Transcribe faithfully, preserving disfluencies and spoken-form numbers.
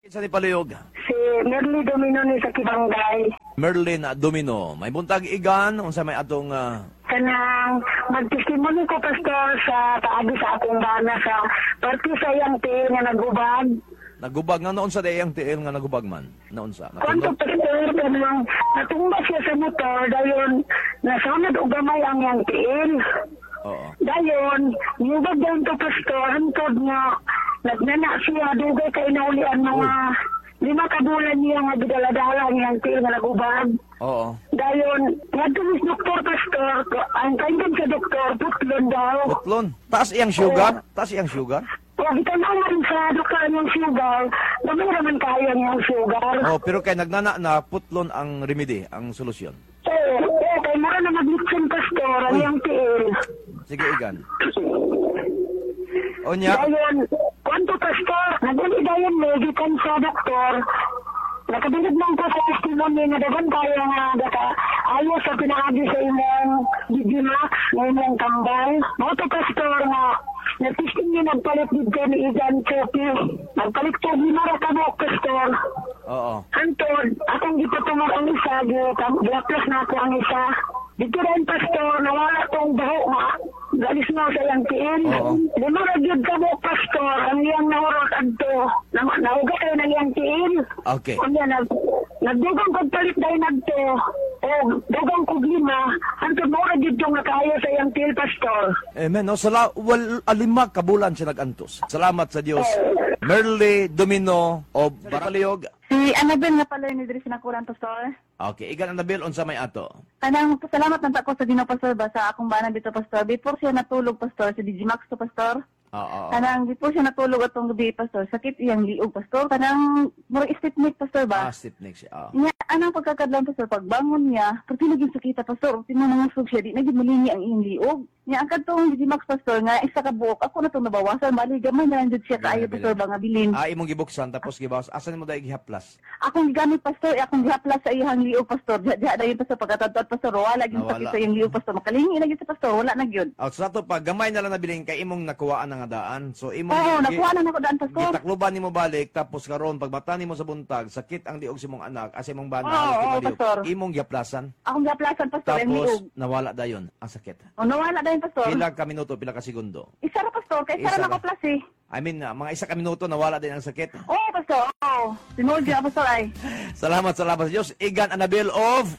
Sa ni Paluyog, Si Merly Domino ni sa Kibangay. Merlin Domino. May buntag igan unsa may atong ah, Kanang magtestimony ko pastor sa paagi sa akong bana sa parte sa iyang tiil nga nagubag. nagubag nga naunsa day ang tiil nga nagubag man. Naunsa. Kwanto Natundok. pastor kanang natumba siya sa motor dayon nasunod og gamay ang iyang tiil. Oo. Dayon, niubag dayon to pastor hantod nga nagnana siya dugay kay naulian mga lima ka bulan niya nga gidaladala ang iyang tiil nga nagubag. Oo. Dayon, ngadto mis doktor pastor, ang kaingon sa doktor putlon daw. Putlon. Taas iyang sugar? Taas iyang sugar? O gitan-aw man sa doktor ang iyang sugar, gamay raman kaayo ang iyang sugar. Oh, pero kay nagnana na putlon ang remedy, ang solusyon. Oo, oo, kay mura na maglitson pastor ang Uy. iyang tiil. Sige igan. Onya, Dayon, kwanto pastor, naguli dayon me gikan sa doktor. Nakadungog man ko sa testimony nga daghan kayo nga daka ayo sa pinaagi sa imong Digimax, nga imong tambal. Mao to pastor nga nagtisting niya nagpalit dito ni Igan Chopi. Nagpalit ko lima ra ka buok pastor. oo. Antod, akong gipatungod ang isa, gi-gaplas na ako ang isa. Dito rin, pastor, nawala tong baho nga. Galis na sa iyang tiil. Oo. Lima ra gyud ka buok, pastor, ang iyang nahurot adto. Na, nauga kayo ng iyang tiil. Okay. Unya, nag, nagdugang kog palit dahil nagto. O, dugang kog lima. Antod, mao ra gyud tong nakaayo sa iyang tiil, pastor. Amen. No, sala, wal, alima kabulan siya nagantos. Salamat sa Dios. Merly Domino of Baraliog. Si Annabel nga pala ni diri sa Nakuran, Pastor. Okay, igan Annabel unsa may ato? Kanang pasalamat na ko sa Ginoo Pastor ba sa akong bana dito Pastor. Before siya natulog Pastor, sa DJ Max to Pastor. Oo. oo. Kanang before siya natulog atong gabi Pastor, sakit iyang liog Pastor. Kanang murag stiff neck Pastor Ah, ba? stiff neck siya. Oo. Nya anang pagkakadlawon Pastor pagbangon niya, perti na gyud sakita Pastor, ultimo nangasog siya di na gyud malingi ang iyang liog. Nya ang kadtong DJ Max Pastor nga isa ka buok ako na tong nabawasan bali gamay na lang jud siya kaayo Gamay Pastor ba nga bilin. Ah, imong gibuksan tapos gibawas. Asa nimo dai gihaplas? Akong gigamit pastor, eh, akong gihaplas sa iyang liog pastor. Diha diha dayon pastor pagkatadtad pastor, wala gyud Nawala. sakit sa iyang liog pastor. Makalingi na gyud sa pastor, wala na gyud. Out sa ato pa gamay na lang nabilin kay imong nakuhaan na nga daan. So imong Oo, gi- nakuha na nako daan pastor. Gitakluban nimo balik tapos karon pagbata nimo sa buntag sakit ang liog sa imong anak asa imong bana Oo, halos di oo, maliog. pastor. Imong gihaplasan. Akong gihaplasan pastor ang Tapos liog. nawala dayon ang sakit. O nawala dayon pastor. Pila ka minuto, pila ka segundo. Isa ra pastor, kay isa Isa ra ra. nako plus eh. I mean, ah, mga isa ka minuto nawala din ang sakit. Oo pastor, oo. Tinuod gyud pastor ay. Salamat, salamat sa Diyos. Igan Annabel of